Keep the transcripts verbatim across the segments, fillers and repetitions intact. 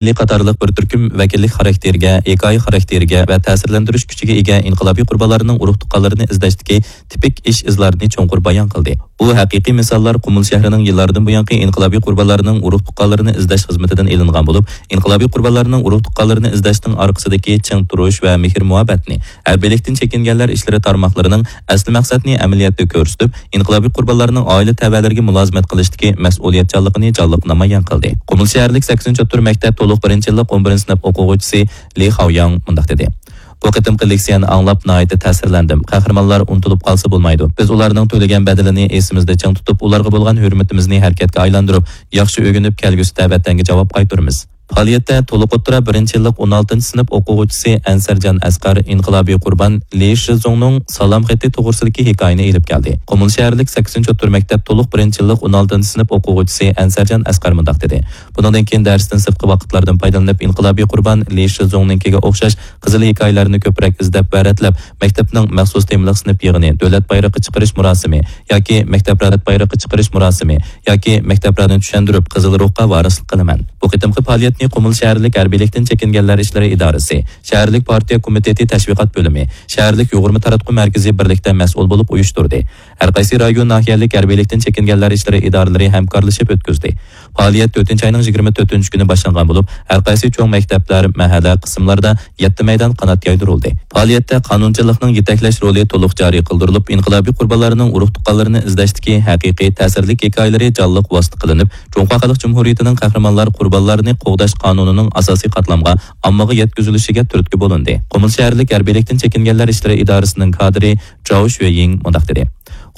قاتارلىق بىر تۈركۈم ۋەكىللىك خاراكتېرىگە، ھېكايە خاراكتېرىگە ۋە تەسىرلەندۈرۈش كۈچىگە ئىگە ئىنقىلابىي قۇربانلارنىڭ ئۇرۇق-تۇغقانلىرىنى ئىزدەشتىكى تىپىك ئىش-ئىزلارنى چوڭقۇر بايان قىلدى. ئۇ ھەقىقىي مىساللار قۇمۇل شەھىرىنىڭ يىللاردىن بۇيانقى ئىنقىلابىي قۇربانلارنىڭ ئۇرۇق-تۇغقانلىرىنى ئىزدەش خىزمىتىدىن ئېلىنغان بولۇپ، ئىنقىلابىي قۇربانلارنىڭ ئۇرۇق-تۇغقانلىرىنى ئىزدەشنىڭ ئارقىسىدىكى چىڭ تۇرۇش ۋە مېھىر-مۇھەببەتنى، ھەربىيلىكتىن چېكىنگەنلەر ئىشلىرى تارماقلىرىنىڭ ئەسلى مەقسەتنى ئەمەلىيەتتە كۆرسىتىپ، ئىنقىلابىي قۇربانلارنىڭ ئائىلە تەۋەلىرىگە مۇلازىمەت قىلىشتىكى مەسئۇلىيەتچانلىقىنى جانلىق نامايان قىلدى. قۇمۇل شەھەرلىك سەكسىنچى تۈر مەكتەپ تولۇق بىرىنچى يىللىق ئون بىرىنچى سىنىپ ئوقۇغۇچىسى لى خاۋياڭ مۇنداق دېدى: بۇ قېتىمقى لېكسىيەنى ئاڭلاپ ناھايىتى تەسىرلەندىم. قەھرىمانلار ئۇنتۇلۇپ قالسا بولمايدۇ. بىز ئۇلارنىڭ تۆلىگەن بەدىلىنى ئېسىمىزدە چىڭ تۇتۇپ، ئۇلارغا بولغان ھۆرمىتىمىزنى ھەرىكەتكە ئايلاندۇرۇپ، ياخشى ئۆگىنىپ، كەلگۈسىدە ۋەتەنگە جاۋاب قايتۇرىمىز. پائالىيەتتە تولۇق ئوتتۇرا بىرىنچى يىللىق ئون ئالتىنچى سىنىپ ئوقۇغۇچىسى ئەنسەرجان ئەسقەر ئىنقىلابىي قۇربان لى شىزۇڭنىڭ سالام خېتى توغرىسىدىكى ھېكايىنى ئېلىپ كەلدى. قۇمۇل شەھەرلىك سەكسىنچى ئوتتۇرا مەكتەپ تولۇق بىرىنچى يىللىق ئون ئالتىنچى سىنىپ ئوقۇغۇچىسى ئەنسەرجان ئەسقەر مۇنداق دېدى: بۇنىڭدىن كېيىن دەرستىن سىرتقى ۋاقىتلاردىن پايدىلىنىپ، ئىنقىلابىي قۇربان لى شىزۇڭنىڭكىگە ئوخشاش قىزىل ھېكايىلەرنى كۆپرەك ئىزدەپ ۋە رەتلەپ، مەكتەپنىڭ مەخسۇس تېمىلىق سىنىپ يىغىنى، دۆلەت بايرىقى چىقىرىش مۇراسىمى ياكى مەكتەپ رەت بايرىقى چىقىرىش مۇراسىمى ياكى مەكتەپلەرنى چۈشەندۈرۈپ، قىزىل روھقا ۋارىسلىق قىلىمەن. بۇ قېتىمقى پائالىيەتنى قۇمۇل شەھەرلىك ھەربىيلىكتىن چېكىنگەنلەر ئىشلىرى ئىدارىسى، شەھەرلىك پارتىيە كومىتېتى تەشۋىقات بۆلۈمى، شەھەرلىك يۇغۇرما تاراتقۇ مەركىزى بىرلىكتە مەسئۇل بولۇپ ئۇيۇشتۇردى. ھەر قايسى رايون، ناھىيەلىك ھەربىيلىكتىن چېكىنگەنلەر ئىشلىرى ئىدارىلىرى ھەمكارلىشىپ ئۆتكۈزدى. پائالىيەت تۆتىنچى ئاينىڭ يىگىرمە تۆتىنچى كۈنى باشلانغان بولۇپ، ھەر قايسى چوڭ مەكتەپلەر، مەھەللە قىسىملاردا يەتتە مەيدان قانات يايدۇرۇلدى. پائالىيەتتە قانۇنچىلىقنىڭ يېتەكلەش رولى تولۇق جارى قىلدۇرۇلۇپ، ئىنقىلابىي قۇربانلارنىڭ ئۇرۇق-تۇغقانلىرىنى ئىزدەشتىكى ھەقىقىي تەسىرلىك ھېكايىلىرى جانلىق ۋاسىتە قىلىنىپ، جۇڭخۇا خەلق جۇمھۇرىيىتىنىڭ قەھرىمانلار قۇربانلارنى قوغداش قانۇنىنىڭ ئاساسىي قاتلامغا ئاممىغا يەتكۈزۈلۈشىگە تۈرتكە بولۇندى. قۇمۇل شەھەرلىك ھەربىيلىكتىن چېكىنگەنلەر ئىشلىرى ئىدارىسىنىڭ كادىرى جاۋ شۈيىڭ مۇنداق دېدى: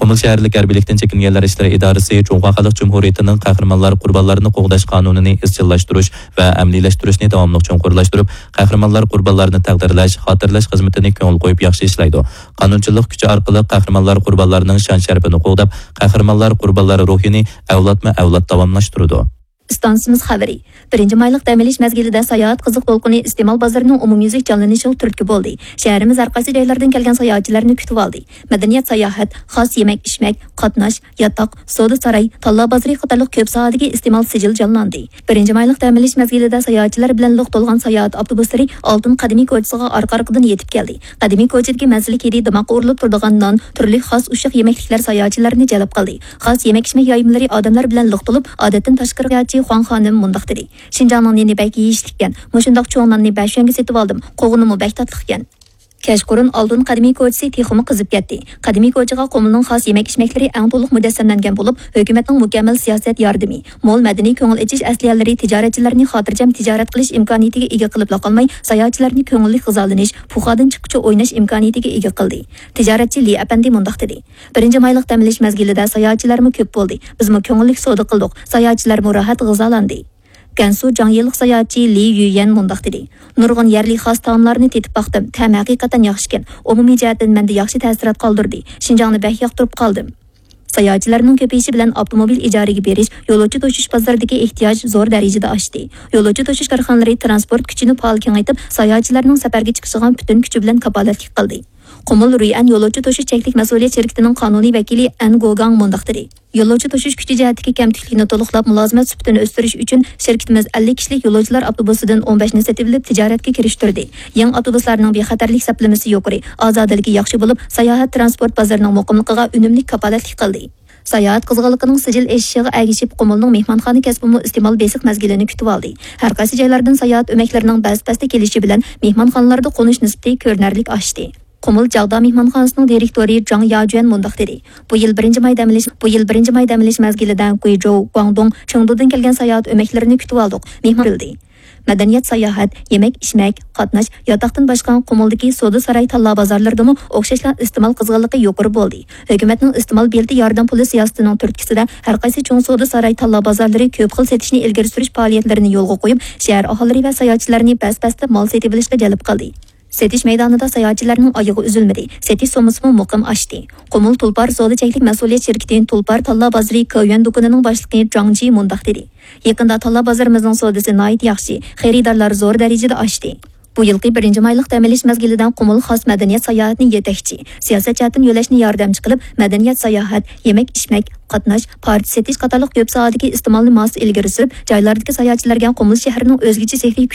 قۇمۇل شەھەرلىك ھەربىيلىكتىن چېكىنگەنلەر ئىشلىرى ئىدارىسى جۇڭخۇا خەلق جۇمھۇرىيىتىنىڭ قەھرىمانلار قۇربانلارنى قوغداش قانۇنىنى ئىزچىللاشتۇرۇش ۋە ئەمەلىيلەشتۈرۈشنى داۋاملىق چوڭقۇرلاشتۇرۇپ، قەھرىمانلار قۇربانلارنى تەقدىرلەش، خاتىرىلەش خىزمىتىنى كۆڭۈل قويۇپ ياخشى ئىشلەيدۇ. قانۇنچىلىق كۈچى ئارقىلىق قەھرىمانلار قۇربانلارنىڭ شان-شەرىپىنى قوغداپ، قەھرىمانلار قۇربانلار روھىنى ئەۋلادمۇ ئەۋلاد داۋاملاشتۇرىدۇ. ئىستانسىمىز خەۋىرى. بىرىنچى مايلىق دەم ئېلىش مەزگىلىدە ساياھەت قىزىق دولقۇنى ئىستېمال بازىرىنىڭ ئومۇميۈزلۈك جانلىنىشىغا تۈرتكە بولدى. شەھىرىمىز ھەر قايسى جايلاردىن كەلگەن ساياھەتچىلەرنى كۈتۈۋالدى. مەدەنىيەت ساياھەت، خاس يېمەك-ئىچمەك، قاتناش، ياتاق، سودا ساراي، تاللا بازىرى قاتارلىق كۆپ ساھەدىكى ئىستېمال سىجىل جانلاندى. بىرىنچى مايلىق دەم ئېلىش مەزگىلىدە ساياھەتچىلەر بىلەن لىق تولغان ساياھەت ئاپتوبۇسلىرى ئالتۇن قەدىمىي كوچىسىغا ئارقا-ئارقىدىن يېتىپ كەلدى. قەدىمىي كوچىدىكى مەززىلىك ھىدى دىماغقا ئۇرۇلۇپ تۇرىدىغان نان، تۈرلۈك خاس ئۇششاق يېمەكلىكلەر ساياھەتچىلەرنى جەلپ قىلدى. خاس يېمەك-ئىچمەك يايمىلىرى ئادەملەر بىلەن لىق تولۇپ، ئادەتتىن تاشقىرى ساياھەتچى خۇاڭ خانىم مۇنداق دېدى: شىنجاڭنىڭ نېنى بەك يېيىشلىككەن، مۇشۇنداق چوڭ ناننى بەش يۈەنگە سېتىۋالدىم، قوغۇنىمۇ بەك تاتلىقكەن. كەچقۇرۇن ئالتۇن قەدىمىي كوچىسى تېخىمۇ قىزىپ كەتتى. قەدىمىي كوچىغا قۇمۇلنىڭ خاس يېمەك-ئىچمەكلىرى ئەڭ تولۇق مۇجەسسەملەنگەن بولۇپ، ھۆكۈمەتنىڭ مۇكەممەل سىياسەت ياردىمى، مول مەدەنىي كۆڭۈل ئېچىش ئەسلىھەلىرى تىجارەتچىلەرنى خاتىرجەم تىجارەت قىلىش ئىمكانىيىتىگە ئىگە قىلىپلا قالماي، ساياھەتچىلەرنى كۆڭۈللۈك غىزالىنىش، پۇخادىن چىققۇچە ئويناش ئىمكانىيىتىگە ئىگە قىلدى. تىجارەتچى لى ئەپەندى مۇنداق دېدى: بىرىنچى مايلىق دەم ئېلىش مەزگىلىدە ساياھەتچىلەرمۇ كۆپ بولدى. بىزمۇ كۆڭۈللۈك سودا قىلدۇق. ساياھەتچىلەرمۇ راھەت غىزالاندى. گەنسۇ جاڭيىلىق ساياھەتچى لى يۈيەن مۇنداق دېدى: نۇرغۇن يەرلىك خاس تائاملارنى تېتىپ باقتىم. تەمى ھەقىقەتەن ياخشىكەن. ئومۇمىي جەھەتتىن مەندە ياخشى تەسىرات قالدۇردى. شىنجاڭنى بەك ياقتۇرۇپ قالدىم. ساياھەتچىلەرنىڭ كۆپىيىشى بىلەن ئاپتوموبىل ئىجارىگە بېرىش، يولۇچى توشۇش بازىرىدىكى ئېھتىياج زور دەرىجىدە ئاشتى. يولۇچى توشۇش كارخانىلىرى تىرانسپورت كۈچىنى پائال كېڭەيتىپ، ساياھەتچىلەرنىڭ سەپەرگە چىقىشىغا پۈتۈن كۈچى بىلەن كاپالەتلىك قىلدى. قۇمۇل رۇيئەن يولۇچى توشۇش چەكلىك مەسئۇلىيەت شىركىتىنىڭ قانۇنىي ۋەكىلى ئەن گوگاڭ مۇنداق دېدى: يولۇچى توشۇش كۈچى جەھەتتىكى كەمتۈكلۈكنى تولۇقلاپ، مۇلازىمەت سۈپىتىنى ئۆستۈرۈش ئۈچۈن شىركىتىمىز ئەللىك كىشىلىك يولۇچىلار ئاپتوبۇسىدىن ئون بەشنى سېتىۋېلىپ، تىجارەتكە كىرىشتۈردى. يېڭى ئاپتوبۇسلارنىڭ بىخەتەرلىك سەپلىمىسى يۇقىرى، ئازادىلىكى ياخشى بولۇپ، ساياھەت تىرانسپورت بازىرىنىڭ مۇقىملىقىغا ئۈنۈملۈك كاپالەتلىك قىلدى. ساياھەت قىزغىنلىقىنىڭ سىجىل ئېشىشىغا ئەگىشىپ، قۇمۇلنىڭ مېھمانخانا كەسپىمۇ ئىستېمال بېسىق مەزگىلىنى كۈتۈۋالدى. ھەر قايسى جايلاردىن ساياھەت ئۆمەكلىرىنىڭ بەس-بەستە كېلىشى بىلەن مېھمانخانىلاردا قونۇش نىسبىتى كۆرۈنەرلىك ئاشتى. قۇمۇل جاغدا مېھمانخانىسىنىڭ دىرېكتورى جاڭ ياجۈەن مۇنداق دېدى: بۇ يىل بىرىنچى ماي دەم ئېلىش، بۇ يىل بىرىنچى ماي دەم ئېلىش مەزگىلىدە گۇيجوۋ، گۇاڭدۇڭ، چېڭدۇدىن كەلگەن ساياھەت ئۆمەكلىرىنى كۈتۈۋالدۇق. مېھمان بىلدى. مەدەنىيەت، ساياھەت، يېمەك-ئىچمەك، قاتناش، ياتاقتىن باشقا قۇمۇلدىكى سودا ساراي تاللا بازارلىرىدىمۇ ئوخشاشلا ئىستېمال قىزغىنلىقى يۇقىرى بولدى. ھۆكۈمەتنىڭ ئىستېمال بېلىتى ياردەم پۇلى سىياسىتىنىڭ تۈرتكىسىدە، ھەر قايسى چوڭ سودا ساراي تاللا بازارلىرى كۆپ خىل سېتىشنى ئىلگىرى سۈرۈش پائالىيەتلىرىنى يولغا قويۇپ، شەھەر ئاھالىلىرى ۋە ساياھەتچىلەرنى بەس-بەستە مال سېتىۋېلىشقا جەلپ قىلدى. سېتىش مەيدانىدا ساياھەتچىلەرنىڭ ئايىغى ئۈزۈلمىدى، سېتىش سوممىسىمۇ مۇقىم ئاشتى. قۇمۇل تۇلپار سودا چەكلىك مەسئۇلىيەت شىركىتى تۇلپار تاللا بازىرى كاۋيۈەن دۇكىنىنىڭ باشلىقى جاڭ جى مۇنداق دېدى: يېقىندا تاللا بازىرىمىزنىڭ سودىسى ناھايىتى ياخشى، خېرىدارلار زور دەرىجىدە ئاشتى. بۇ يىلقى بىرىنچى مايلىق دەم ئېلىش مەزگىلىدە قۇمۇل خاس مەدەنىيەت ساياھەتنى يېتەكچى، سىياسەت جەھەتتىن يۆلەشنى ياردەمچى قىلىپ، مەدەنىيەت ساياھەت، يېمەك ئىچمەك، قاتناش، پارچە سېتىش قاتارلىق كۆپ ساھەدىكى ئىستېمالنى ماس ئىلگىرى سۈرۈپ، جايلاردىكى ساياھەتچىلەرگە قۇمۇل شەھىرىنىڭ ئۆزگىچە سېھرىي كۈچى